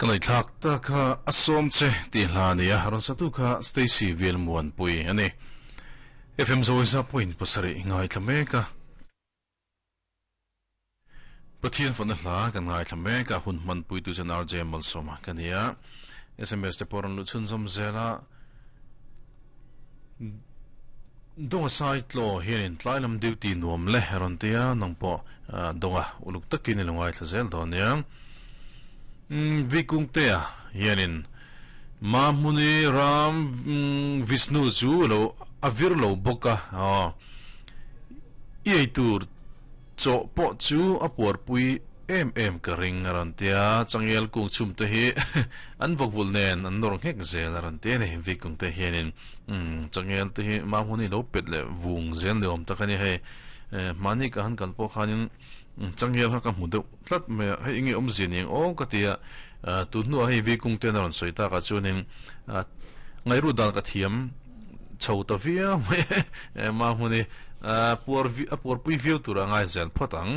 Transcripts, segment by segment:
Ka ngaihthlak ta kha a sawm che tih hla a ni a, rawn satu kha Stacy Velmuanpui a ni. FM Zawisa point pasarih ngaithla mek a. Pathian fawhna hla kan ngaithla mek a, hun hmanpuitu chuan RJ Malsawma ka ni a. SMS te pawh rawn luh chhunzawm zel a. Donga Saitlaw hianin tlai lam duty nuam le a rawn ti a, nang pawh Donga uluk takin i lo ngaithla zel dawn nia. Vikungtea hianin Mahmuni Ram Vishnu chu lo a vir lo bawk a, i eitur Chaw pawh chu a puarpui em em ka ring a rawn ti a, changel kung chhum te hi an vawkvulh nen an nawr nghek zel a rawn ti a ni. Vikung te hianin changel te hi mahmun hi lo pet leh vung zel ni awm tak a ni. Hei hmani ka han kal pawh khanin changel kha ka hmu deuh tlat mai a, hei enge awmzia ni ang aw ka ti a, tun hnuah hei Vikung ten a rawn sawi takah chuanin ngaihruat dan ka thiam. chho ta viau mai e mahmun hi puar a puarpui viau tur a ngai zel phawt ang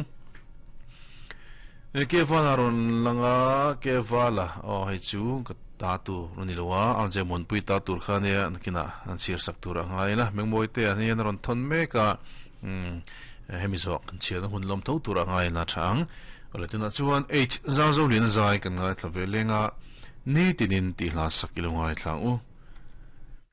ke vala rawn lang a ke vala aw hei chu ka ta tur a ni lo a ang che muanpui ta tur kha nia nakinah an chhir sak tur a ngai la mengmawi te ah hian a rawn thawn mek a hemi zawh kan chhiarna hun lawm tho tur a ngai la tha ang awle tunah chuan H Zazolian zai kan ngaithla ve leng a ni tinin tih hla sak i lo ngaithla ang u.